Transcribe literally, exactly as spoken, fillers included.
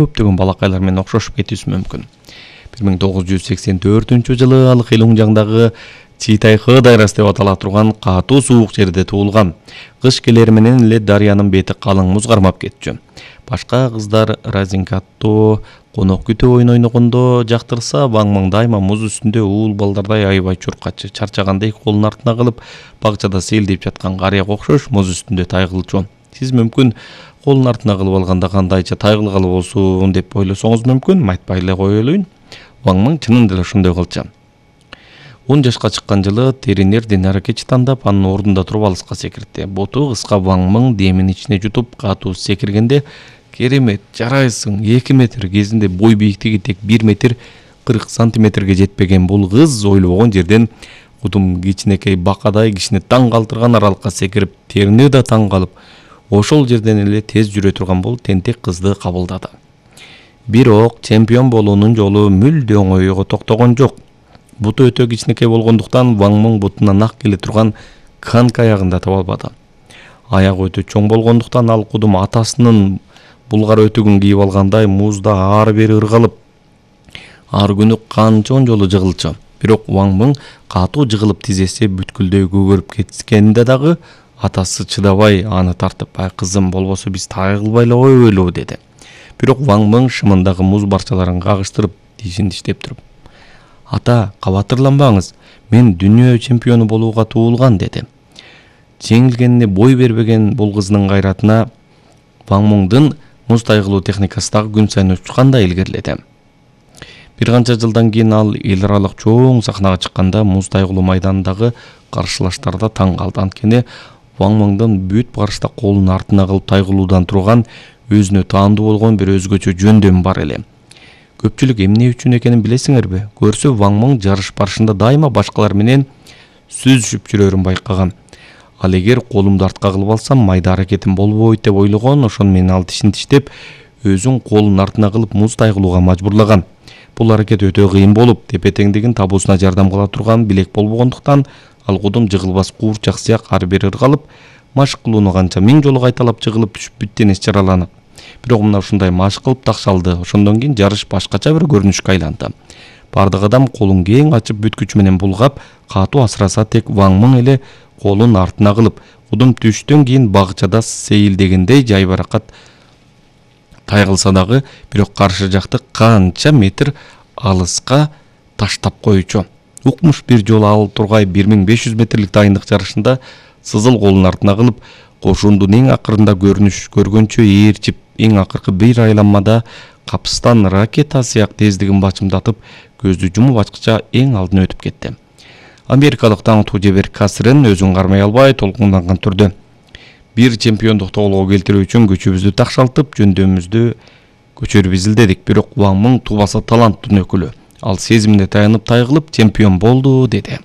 көптөгөн балакайлар менен окшошуп кетүүсү мүмкүн. бир миң тогуз жүз сексен төртүнчү жылы ал Хелунжаңдагы Читайхы дайрасы деп атала турган катуу суук жерде туулган. Кыш келери менен эле дарыянын бети калың муз кармап кетчү. Башка кыздар разинкатто, конок күтө ойун ойногондо жактырса, Ваң Мың дайыма муз үстүндө уул балдардай аябай чуркачы, чарчагандай колун артына кылып, багчада сейилдеп жаткан карыяга окшош муз үстүндө тайгылчу. Сиз мүмкүн колун артына кылып алганда кандайча тайгылгалы болсун деп ойлосоңуз мүмкүн, айтпай эле коелуйн. Ваң Мың чынында эле ошондой кылчу. он жашка чыккан жылы тренер Динара Кечи тандап, анын ордунда туруп алыска секиртти. Боту кыска Ваң Мың демин ичине жутуп катуу секиргенде, керемет, жарайсың, эки метр, кезинде бой бийиктиги тек бир метр кырк сантиметрге жетпеген бул кыз ойлобогон жерден кудум кичинекей бакадай кишини таң калтырган аралыкка секирип, терини да таң калып, ошол жерден эле тез жүрө турган бул тентек кызды кабылдады. Бирок чемпион болуунун жолу мүлдө оңойго токтогон жок. Буту өтө кичинекей болгондуктан Ваң Мың бутуна нак келе турган канка аягын да таба албады. Аягы өтө чоң болгондуктан ал кудум атасынын булгар өтүгүн кийип алгандай музда ары бери ыргалып, ар күнү канчон жолу жыгылчу. Бирок Ваң Мың катуу жыгылып тизеси бүткүлдөй көгөрүп кеткенде дагы атасы чыдабай аны тартып, "Ай кызым, болбосо биз тайгылбай эле коелу" деди. Бирок Ваң Мың шымындагы муз барчаларын кагыштырып, тишин диштеп туруп, "Ата, кабатырланбаңыз, мен дүйнө чемпиону болууга туулган" деди. Жеңилгенине бой бербеген бул кыздын кайратына Ваң Мыңдын муз тайгылуу техникасы дагы күн сайын учкандай илгериледи. Бир канча жылдан кийин ал эл аралык чоң сахнага чыкканда муз тайгылуу майданындагы каршылаштарда таң калды. Анткени Ваң Мыңдын бүт барышта колун артына кылып тайгылуудан турган өзүнө таандуу болгон бир өзгөчө жөндөм бар эле. Көпчүлүк эмне үчүн экенин билесиңерби? Көрсө Ваң Мың жарыш барышында дайыма башкалар менен сүзүшүп жүрөрүн байкаган. Ал эгер колумду артка кылып алсам, майда аракетим болбойт деп ойлогон, ошону менен ал тишин тиштеп, өзүн колун артына кылып муз тайгылууга мажбурлаган. Бул аракет өтө кыйын болуп, тепе-теңдигин табуусуна жардам кыла турган билек болбогондуктан, ал кудум жыгылбас куурчак сыяк ары бери ыргалып, машык кылууну канча миң жолу кайталап жыгылып түшүп бүттен эс жараланып. Бирок мына ушундай машык кылып такшалды. Ошондон кийин жарыш башкача бир көрүнүшкө айланды. Бардык адам колун кең ачып бүт күчү менен булгап, катуу асыраса тек Ваң Мың эле колун артына кылып, кудум түштөн кийин багчада сейилдегендей жайбаракат тайгылса дагы, бирок каршы жакты канча метр алыска таштап коючу. Укмуш бир жолу ал тургай бир миң беш жүз метрлик дайындык жарышында сызыл колун артына кылып, кошуундун эң акырында көрүнүш көргөнчө ээрчип, эң акыркы бир айланмада капыстан ракета сыяк тездигин бачымдатып, көздү жумуп ачкыча эң алдына өтүп кетти. Америкалык таңтуу Жебер Касрен өзүн кармай албай толкунданган түрдө бир чемпиондукту колго келтирүү үчүн күчүбүздү такшалтып, жөндөмүздү көчөрүп изилдедик. Бирок Ваң Мың тубаса таланттын өкүлү. Ал сезимине таянып тайгылып чемпион болду, деди.